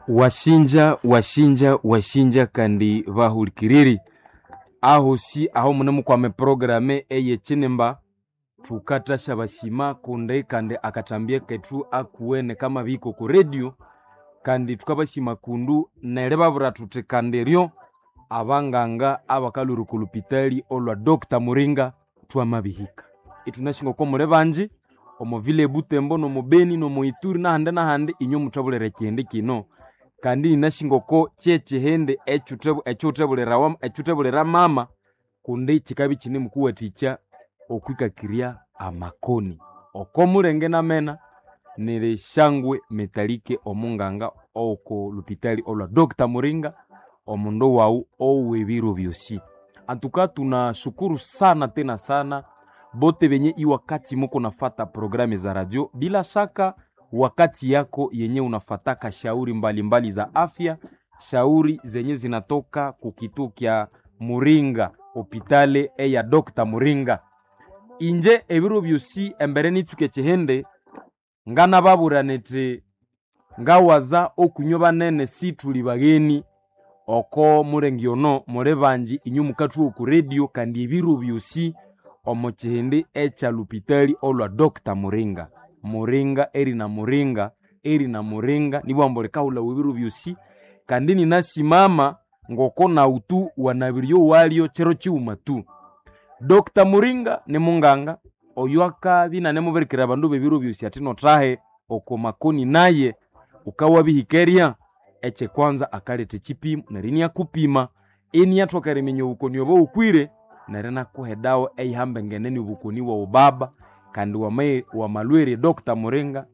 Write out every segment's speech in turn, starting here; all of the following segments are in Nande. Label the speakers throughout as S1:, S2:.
S1: Wasinja wasinja wasinja kandi bahulikiriri ahosi aho munemukwama eprogramu eyekinimba thukathasya basima kundi kandi akathambya kethu akuwene kamabihika oku radio kandi thukabasima kundu neribabwira thuthi kandi ryo abanganga abakalhwira oko lupitali olwa Dr. Muringa thwamabihika. Ithunasi ngoko muli bangi omo vile ebutembo nomo Beni nomo Ituri nahandi nahandi inywe muthabulira ekihindi kino kandi ninasi ngoko kyekihindi ekyuthebulira mama kundi kikabya ikinemukuwathikya okwikakirya amakoni. Oko mulenge namena niri Shangwe Metalike omunganga owoko lupitali olwa Dr. Muringa omundu wawu ow'ebiro byosi. Antuka tunashukuru sana tena sana bote benye iwakati muko nafata programu za radio, bila shaka wakati yako yenye unafataka shauri mbalimbali mbali za afya, shauri zenye zinatoka kukituo kya Muringa hopitale eya Dr. Muringa. Inje ebiro byosi embere nitsuke ekihindi nganababwira niti ngawaza okunywa banene sithuli bagheni oko mulenge ono muli bangi inywe mukathuwa oku radio kandi ebiro byosi omo kihindi ekya lupitali olwa Dr. Muringa. Muringa eri na Muringa eri na Muringa nibwambu likahulhawa ebiro byosi kandi ninasimama ngoko nautu wanabiryo walyo kiro kighuma tu. Dr. Muringa ni munganga oyo akabya inanemubirikira abandu b'ebiro byosi athi nothahe oko makoni naye ukawabihikeria ekyekwanza akaletha ekipimo neryo iniakupima iniathoka eriminya obukoni obo wukwire neryo inakuha edawa eyihambengene nobukoni bwawu baba kandi wamalhwere Dr. Muringa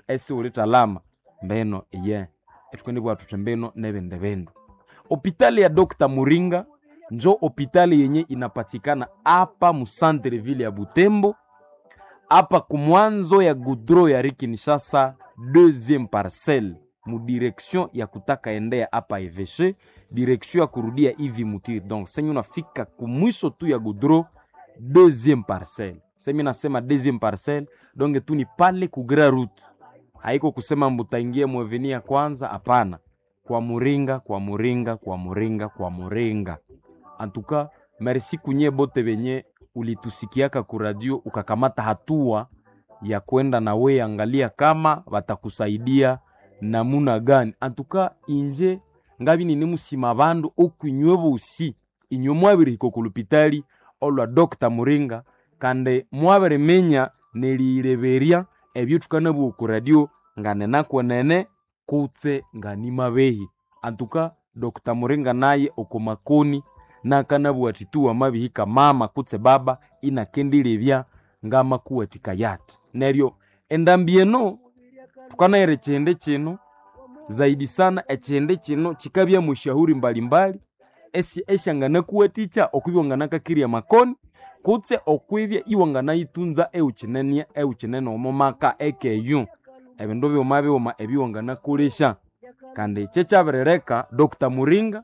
S1: isiwulithalama mbeno iye ithukendibugha thuthi mbino nebindi bindu. Hopitali ya Dr. Muringa njo hopitali yenye inapatikana apa mu centre ville ya Butembo apa kumwanzo ya goudron ya rue Kinshasa deuxième parcelle mu direction ya kutaka endea apa Evêché direction ya kurudia hivi Mutiri. Donc senye unafika kumwisho tu ya goudron deuxième parcelle, semi nasema deuxième parcelle donc tu ni pale ku grand route, haiko kusema mbutaingie mweveni ya kwanza, hapana. Kwa Muringa, kwa Muringa, kwa Muringa, kwa Muringa. Antuka merci kunye bote benye ulitusikiaka ku radio ukakamata hatua ya kwenda na we angalia kama watakusaidia namuna gani. Antuka inje ngabi nini musima bandu okwinywe bosi inywe mwabirihika oku lupitali olwa Dr. Muringa kandi mwabiriminya neriyireberya ebyo thukanabugha oku radio nganenakwenene kutse nganimabehi. Antuka Dr. Muringa naye oko makoni nakanabugha athi tu wamabihika mama kutse baba inakendilebya ngamakuwathikaya athi. Neryo endambi eno thukanayira ekihindi kino zaidi sana ekihindi kino kikabya mushahuri mbalimbali esyanganakuwathikya okwibya wanganakakirya amakoni kutse okwibya iwanganayitunza ewukinene ewukinene omo maka ekeyu ebindu bighuma bighuma ebyowanganakolesya kandi kyekyabirileka Dr. Muringa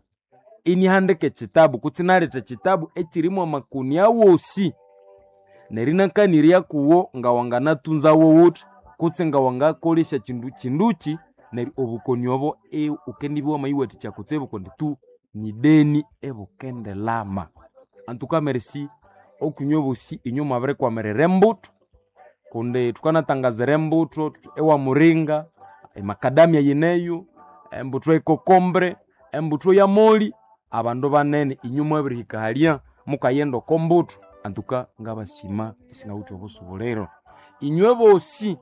S1: inihandika ekitabu kutse inaletha ekitabu ekirimu amakoni awosi neryo inakanirya kuwo ngawanganatunza wowuthi kutse ngawangakolesya kindu kinduki neryo obukoni obo wukendibya wamayiwathikya kutsibu kundi tu ni deni ebukendilama. Antuka merci okwinywe bosi inywe mwabirikwamirira embuthu kundi thukanatangazira embuthu ewa Muringa emakadamia yineyo embuthu ekokombre embuthu ya moli abandu banene inywe mwabirihika halya mukayenda oko mbuthu antuka ngabasima isingawithe obusubuliro. Inywe bosi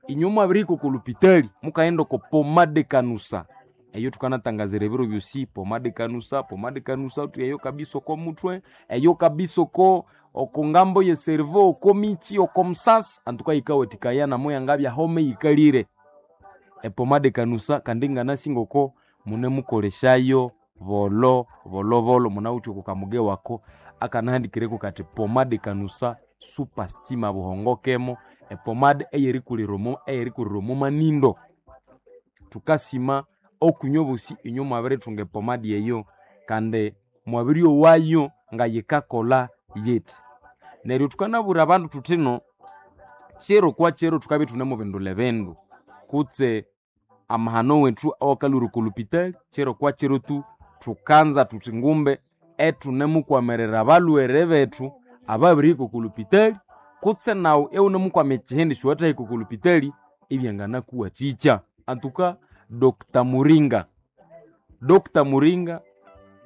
S1: inywe mwabirihika oko lupitali mukaghenda oko pomade kanusa eyo thukanatangazira ebiro byosi pomade kanusa pomade kanusa uthi eyo kabisa oko muthwe eyo kabisa oko oko ngambo ye cerveau oko michi oko musasi antuka yikawathikaya namo yangabya home yikalire epomade kanusa kandi nganasi ngoko munemukolesyayo bolo bolo bolo munawithe oko kamuge wako akanahandikireko kathi pomade kanusa super stima buhongokemo epomade eyerikulira omo eyerikulira omo manindo. Thukasima okwinywe bosi inywe mwabirithunga epomade eyo kandi mwabiryowayo ngayikakolha yithi. Neryo thukanabwira abandu thuthino kiro kwa kiro thukabya ithunemubindulha ebindu kutse amahano wetu awakalwira oko lupitali chiro kwa chiro tu thukanza thuthi ngumbe ethunemukwamirira abalhwere bethu ababirihika oko lupitali kutse nawu iwunemukwama ekihindi siwathahika oko lupitali ibyanganakuwathikya. Antuka Dr. Muringa, Dr. Muringa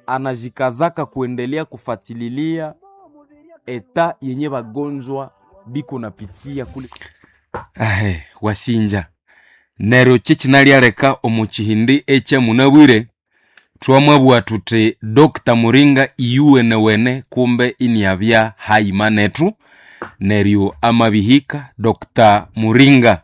S1: anajikazaka kuendelea kufatililia eta yenye bagonjwa biko napitia kule. Ahe, wasinja neryo kyekinalyalereka omu kihindi ekyamunabwire twamwabugha thuthi Dr. Muringa iyuwenewene kumbe iniabya hayima nethu neryo amabihika Dr. Muringa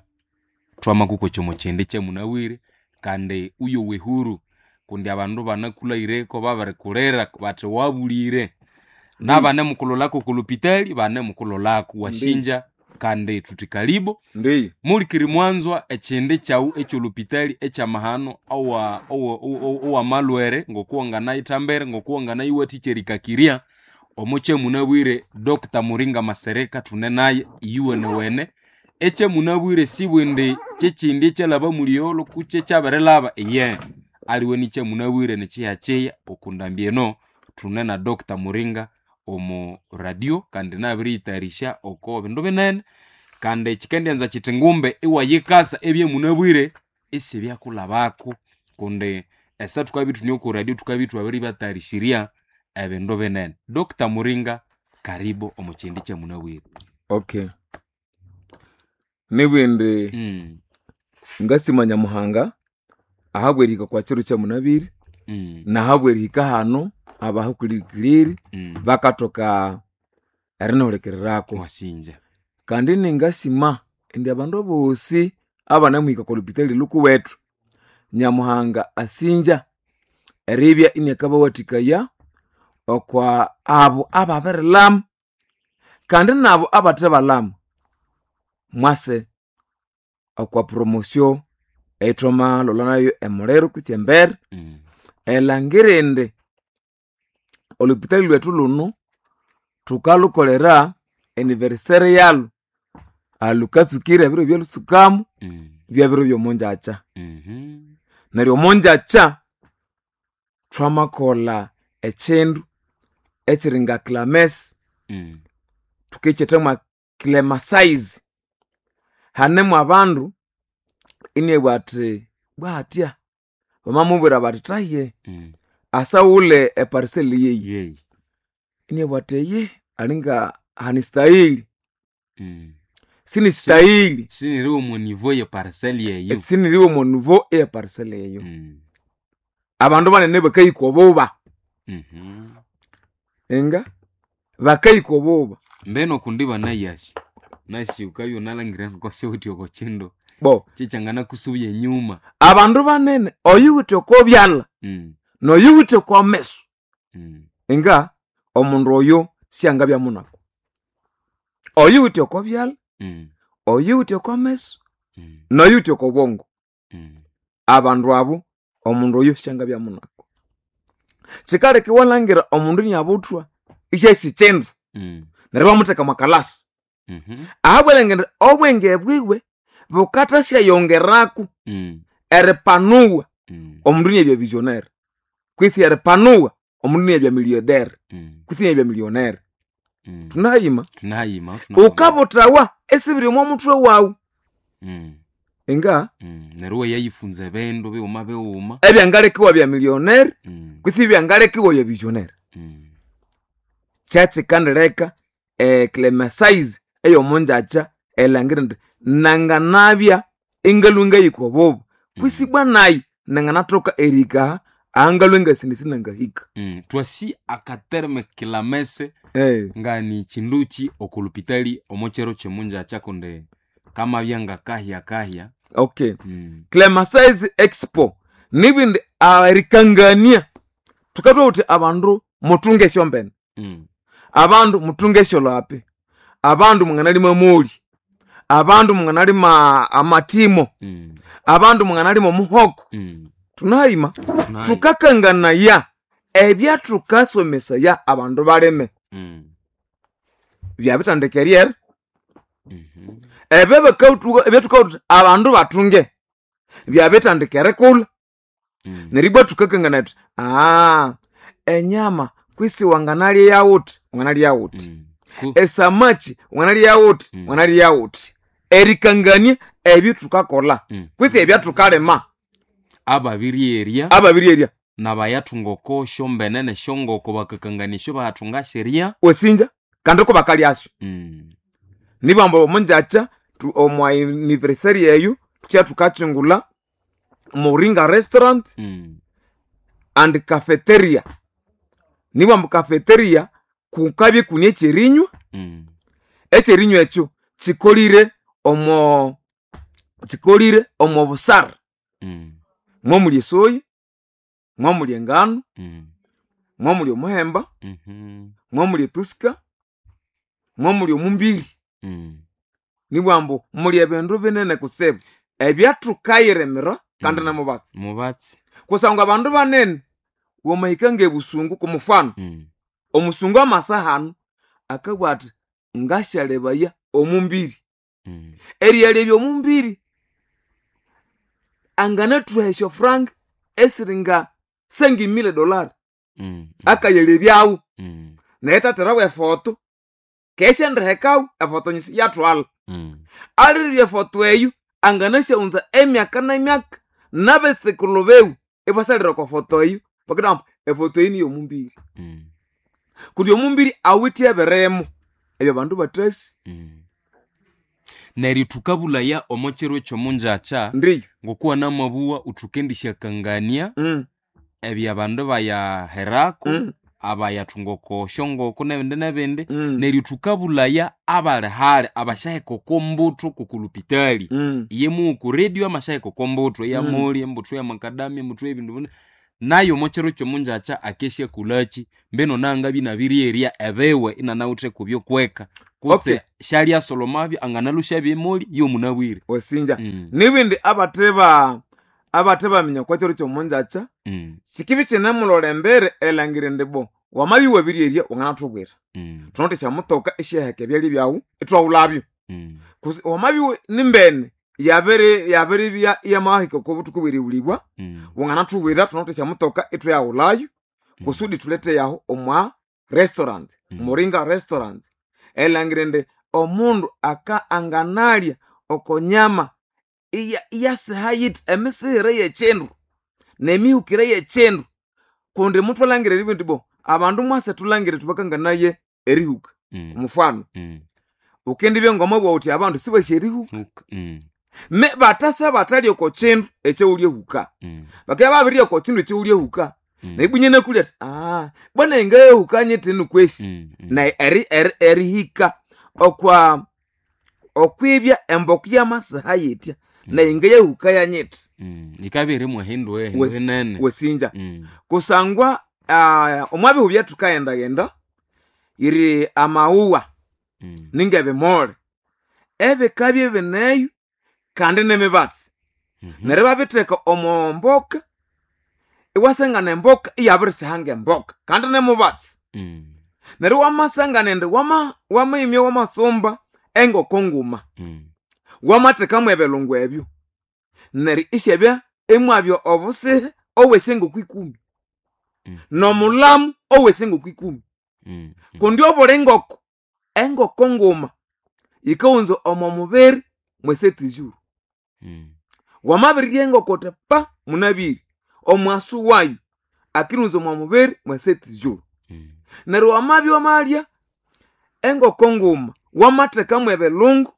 S1: twamakuko omu kihindi kyamunabwire kandi uyo wehuru kundi abandu banakulhaireko babirikulira bathi wabulire nabanemukulholako oku lupitali banemukulholako wasinja kandi thuthi kalibo
S2: Ndiyo.
S1: mulikiri mwanzwa ekihindi kyawu ekyolupitali ekyamahano owamalhwere ngokuwanganayithambere ngokuwanganayiwathikya erikakirya omo kyamunabwire Dr. Muringa Masereka thune naye iyuwenewene ekyamunabwire sibwindi kyekindi ekyalhaba muliyolo kutse ekyabirilhaba iye aliwe nikyamunabwire nikyihakyiya okundambi eno thune na Dr. Muringa omu radio kandi nabiriyitayarisya oko bindu binene kandi kikendyanza kithi ngumbe iwayikasa ebyamunabwire isibyakulhabako kundi esa thukabya ithune oko radio thukabya ithwabiribatayarishirya ebindu binene. Dr. Muringa karibu omu kihindi kyamunabwire.
S2: Okay. Nibwindi ngasima Nyamuhanga ahabwerihika kwa kiro kyamunabiri nahabwerihika hano abahukulikiriri bakathoka erinihulikiriraku.
S1: Wasinja.
S2: Kandi ningasima indi abandu abosi abanamuhika okwa lupitali lhukuwethu Nyamuhanga asinja eribya iniakabawathikaya okwa abo ababirilhama kandi nabo abathebalhama mwase okwa promotion eyithwamalholha nayo emuliro kwitsi embere elhangira indi olupitali lwethu lhunu thukalhukolera anniversary yalhu alukatsukire ebiro byalhutsukamu byabiro byomungyakya. Neryo omungyakya thwamakolha ekindu ekiri nga clamesi thukikyetha mwa clemasize. Hanemu abandu inabugha athi bwahatya bamamubwira bathi thaye asaghule eparcel yeyi
S1: Yeyi.
S2: inabugha athi eyi alinga hanistahili sinistahili
S1: Siniri omu niveau ye parcel yeyo.
S2: siniriwe omo niveau eye parcel eyo. Abandu banene bakahika obuba inga bakahika obuba
S1: Mbeno kundi banayasi nasi ukabya unalhangira ngokosiwuthi oko kindu
S2: bo
S1: kyekyanganakusubya enyuma.
S2: Abandu banene oyuwithe oko byalha noyuwithe oko meso inga omundu oyo syangabya munaku. Oyuwithe oko byalha oyuwithe oko meso noyuwithe oko bwongo abandu abo omundu oyo syangabya munaku. Kyikaleka iwalhangira omundu iniabuthwa isyahisa ekyindu neryo ibamutheka mwa kalasi ahabw'erilhangira indi obwenge bwiwe bukathasyayongeraku eripanuwa omundu iniabya visionnaire kwitsi eripanuwa omundu iniabya millionaire kwitsi iniabya millionaire. Thunahayima
S1: Thunahayima
S2: ukabuthawa esibiri omwa muthwe wawu inga
S1: neryo iwayayifunza ebindu bighuma bighuma
S2: ebyangaleka iwabya millionaire kwitsi ebyangaleka iwabya visionnaire. Kyekikandileka eclemasize eyomungyakya erilhangira indi nanganabya ingalhwa ngahika obuba kwisi ibwa nayi nanganathoka erihika aha ahangalhwa ingasindi sinangahika.
S1: Twasi akaterme kilamese ngani kinduki oko lupitali omo kyiro kyomungyakya kundi kamabya ngakahya kahya.
S2: Okay. Clemasize expo nibindi erikangania thukathowa thuthi abandu muthunge esyombene abandu muthunge esyolhapi abandu mwanganalima amoli abandu mwanganalima amatimo abandu mwanganalima omuhoko thunahayima thukakanganaya ebyathukasomesaya abandu balime byabithandika eryera ebyo bakathuka ebyathukawatha abandu bathunge. Byabitandika erikulha. Neribwa thukakangana thuthi enyama kwisi wanganalya yawuthi, wanganalya yawuthi. Esamaki wanganalya yawuthi, wanganalya yawuthi. Erikangania ebyo thukakolha kwisi ebyathukalima.
S1: Ababirierya.
S2: Ababirierya.
S1: Nabayathunga oko syombene nesyongoko bakakangania esyo bayathunga syerya.
S2: Wesinja kandi ko bakalyasyo. Nibamba omunjakya omu anniversary eyo tukya thukakyungulha Moringa restaurant and cafeteria. Nibamba cafeteria kukabya ikune ekyerinywa. Ekyerinywa ekyo kikolire omo busara. Mwamuli esoya, mwamuli engano, mwamuli omuhemba, mwamuli etusika, mwamuli omumbiri. Nibwambu muli ebindu binene kutsibu ebyathukayiremera kandi nemubatsi.
S1: Mubatsi.
S2: Kusangwa abandu banene wamahika ngebusungu kumufano. Omusungu amasa hanu akabugha athi ngasyalebaya omumbiri. Eriyalebya omumbiri anganathuha esyofranka esiringa $5,000. Akayalebyawo. Naye thatherawo efoto kesyandirihekawo efoto nyisi yathwalha. Alirirya efoto eyo anganasyawunza emyaka nemyaka nabetsukulhu biwe ibasalira okwa foto eyo bakabugha efoto eyi niyomumbiri. Kundi omumbiri awithe ebirimo ebyo abandu bathasi.
S1: Neryo thukabulaya omo kiro ekyomunjakya
S2: Ndiyo.
S1: ngokuwa namabugha thukendishyakangania ebyabandu bayaherako abayathunga oko syongoko nebindi nebindi. Neryo thukabulaya abali hali abasyaheka oko mbuthu kokulupitali. Iye mughu ku radio amasyaheka oko mbuthu eyamoli, embuthu yamakadamia, embuthu yebindu binene. Nayo omo kiro kyomunjakya akesyakolhaki mbino nangabya inabiryerya ebiwe inanawithe kubyokweka kutse syalyasolomabyo anganalhusyabya emoli yomunabwire.
S2: Wasinja. Nibindi abathe baminya okwa kiro kyomunjakya sikibya ikinemulolha embere erilhangira indi bo wamabya iwabiryerya wanganathubwira. Thunawithe esyamutoka esyaheka ebyalya byawu ithwaghulhabyo. Wamabya nimbene yabiribya iyamahika oko buthuku bwerighulibwa wanganathubwira thunawithe esyamutoka ithwayaghulhayo kusudi thulete yahu omwa restaurant, Moringa restaurant. Erilhangira indi omundu aka anganalya oko nyama iyasiha yithi emisighire yekyindu nemihukire yekyindu kundi muthwalhangira eribugha indi bo abandu mwase thulhangire thubakanganaye erihuka. Omufano wukendibya ngomwabugha wuthi abandu sibasi erihuka. Me bathasa bathalya oko kyindu ekyawulyahuka. Bakabya babirirya oko kyindu ekyawulyahuka neribwa inanakulya athi bwana ngayahuka nyithi nukwesi. Nayi erihika okwa okwibya emboka yamasiha yithya nayi ngayahuka yanyithi.
S1: Yikabya irimu ehindu hinene.
S2: Wasinja. Kusangwa omwabihu byathukaghendaghenda yiri amawuwa ningebimole ebikabya ibineyo kandi nemibatsi. Neryo ibabitheka omo mboka iwasangana emboka iyabirisiha ngemboka kandi nemubatsi. Neryo wamasangana indi wamahimya wamatsumba engoko nguma wamathekamu ebilungu ebyo neryo isyabya imwabya obusihe obwesyangoko ikumi nomulamu owesyangoko ikumi. Kundi obuli ngoko engoko nguma yikawunza omo mubiri mwesetizuru. Wamabirirya engoko wuthi pa munabire omwasu wayo akiriwunza omo mubiri mwesetizuru. Neryo wamabya wamalya engoko nguma wamathekamu ebilungu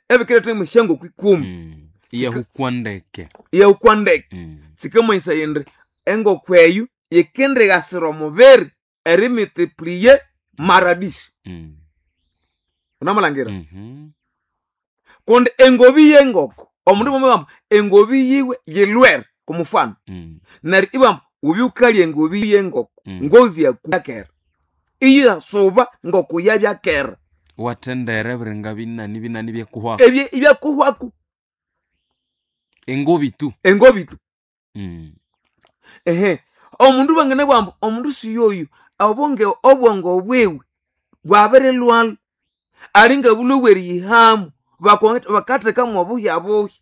S2: ebikiretha mwesyangoko ikumi.
S1: Iyahukwa ndeke.
S2: Iyahukwa ndeke. Kikamanyisaya indi engoko eyo yikendighasira omubiri erimultiplier mara dix. Wunamalhangira? Kundi engobi yengoko omundu mwamubwira engobi yiwe yilhwere kumufano. Neryo ibabugha wubye wukalya engobi yengoko ngozi yakera. Iyasuba ngoko yabyakera.
S1: Iwathendera ebiringa binani binani ebyakuhwaku.
S2: Ebyakuhwaku.
S1: Engobi tu.
S2: Engobi tu. Omundu banganabugha ambu omundu siyoyu obwongo bwiwe bwabirilhwalha alinga bulhwe bweriyihamu bakathekamu obuhyabuhya.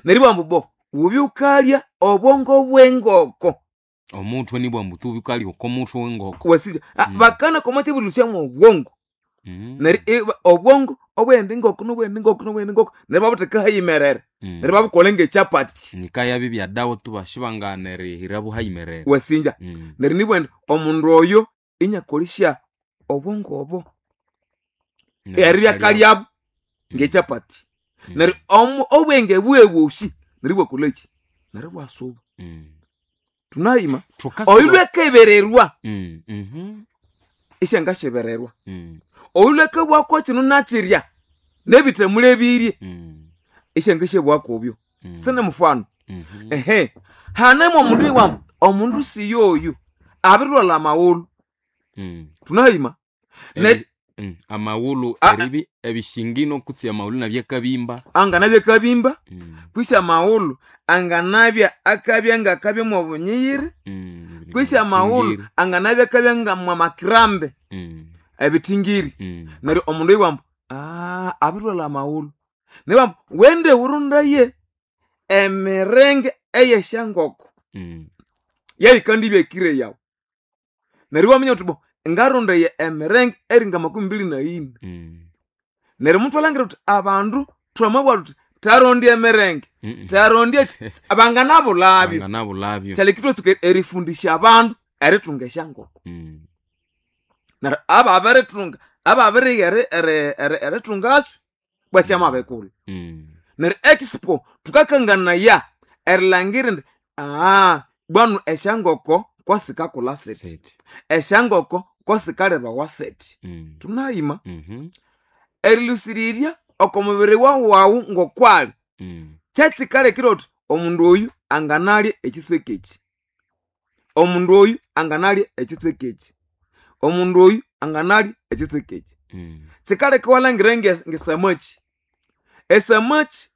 S2: Neryo bambu bo wubye ukalya obwongo bw'engoko.
S1: Omutwe nibwa mbutu bukali okomutwe w'engoko.
S2: Wasija bakana koma kyebulusya mu obwongo. Neryo obwongo obwende ngoko nobwende ngoko nobwende ngoko neryo babutheka hayimerere. Neryo babukola ng'echapati.
S1: Nikaya bya dawa tubashibangana erihira buhayimerere.
S2: Wasinja. Neryo nibwende omundu oyo inyakolisya obwongo obo. Eribya kalyabo ng'echapati. Neryo obwenge bwebwosi neryo bwakoleki? Neryo bwasuba. Tunayima. Oyu lwekebererwa. Isyangashebererwa. Oyu lwekebwako kino nakirya nebithamule ebirye. Isyangashyebwakobyo. Sine mufano. Ehe. Hanemu omundu iwamu omundu siyoyu abirilwala amawulu. Tunayima.
S1: Amawulu eribi ebishingino kutsi amawulu nabyakabimba.
S2: Anganabya kabimba. Kwisi amawulu anganabya akabya ngakabya mwa bunyiyiri. Kwisi amawulu anganabya akabya nga mwa makirambe. Ebitingiri. Neryo omundu iwambu abirilwala amawulu. Nibambu wende urundaye emirenge eyeshangoko. Yayikandibya ekire yawu. Neryo waminya uthi bo ngarundaye emirenge eringa 24. Neryo omuntu alangira uthi abandu twamabwa tuthi tarondya emirenge. Tarondya banganabulabyo.
S1: Banganabulabyo.
S2: Kyalekitwe erifundisha abandu eritunga eshangoko. Neryo ababiritunga ababiriya eritungasu bwakyamabikula. Neryo expo tukakanganaya erilangira indi bwanu eshangoko kwasikakulha siti. Eshangoko kwasikalirawa siti. Tunayima. Erilusirirya oko mubiri wawu ngokwali. Kyekikalekire uthi omundu oyu anganalya ekitsweka eki. Omundu oyu anganalya ekitsweka eki. Omundu oyu anganalya ekitsweka eki. Kikaleka iwalhangira ngesamaki. Esamaki